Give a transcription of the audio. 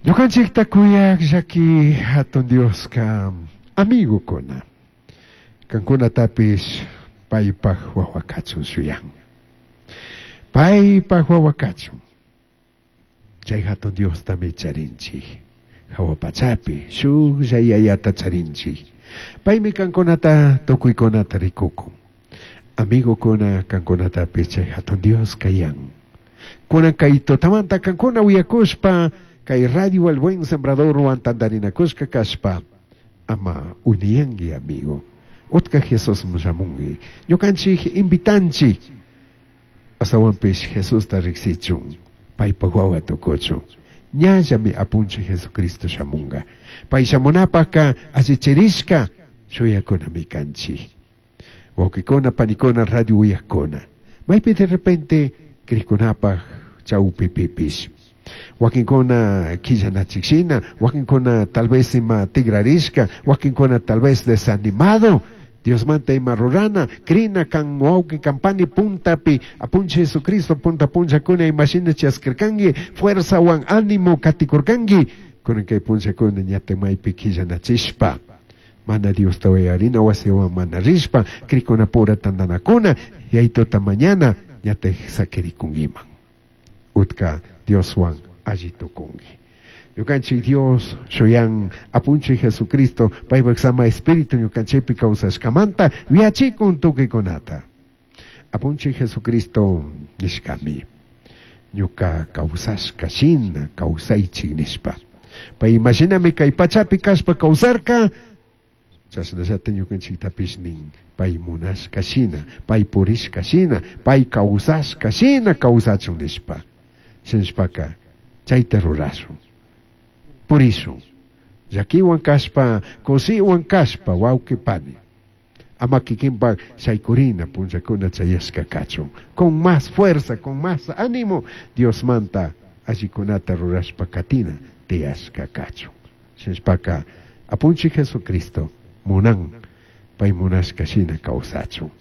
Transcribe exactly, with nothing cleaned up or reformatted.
Ñukanchikta kuyaq llaki hatun Dioska amigokuna. Kankunatapish paypaj wawa kachun shuyan. Paypaj wawa kachun. Chay hatun Diostami charinchik. Hawa pachapi shuklla yayata charinchik. Paymi kankunata tukuykunata rikukun. Amigokuna kankunatapish chay hatun Dios kayan. Kunan kay tutamanta kankuna uyakushpa kay radio El Buen Sembradorwan tantarinakushka kashpa ama uniyanki amigo. Utka Jesus shamunki. Ñukanchik invitanchik. Astawanpish Jesusta riksichun. Paypaj wawa tukuchun. Ñallami apunchik Jesucristo shamunga. Pay shamunapaka allichirishka shuyakunami kanchik. Wawqikuna, panikuna, radio uyakuna. Maypi de repente krikunapaj chawpipipish. Wakinkuna quillanachikshina, wakinkuna tal vez ima tigrarishka, wakinkuna tal vez desanimado. Diosmanta ima rurana, krina kan wawqi kampani puntapi, apunchik Jesucristo punta punchakuna imashina chaskirkanki, fuerzawan ánimo katikurkanki, kunan kay punchakuna ñata maypi quillanachishpa. Mana Diosta uyarina wasiwan mana rishpa, krikunapura tantanakuna, yaytuta mañana ñata sakirikunkiman. Utka Dioswan alli tukunki. Ñukanchik Dios shuyan apunchik Jesucristo paypaj sama espíritu ñukanchikpi kawsashkamanta yachikun tukuykunata. Apunchik Jesucristo nishkami ñuka kawsashka shina kawsaychik nishpa. Pay imashinami kay pachapi kashpa kawsarka chashnallata ñukanchiktapish nin pay munashka shina, pay purishka shina, pay kawsashka shina kawsachun nishpa. Shinashpaka chayta rurashun. Purishun. Llakiwan kashpa, kushiwan kashpa, wawqi pani. Ama kikinpak shaykurina punllakuna chayashka kachun. Con más fuerza, con más ánimo, Diosmanta allikunata rurashpa katina tiyashka kachun. Shinashpaka apunchik Jesucristo munan pay munashka shina kawsachun.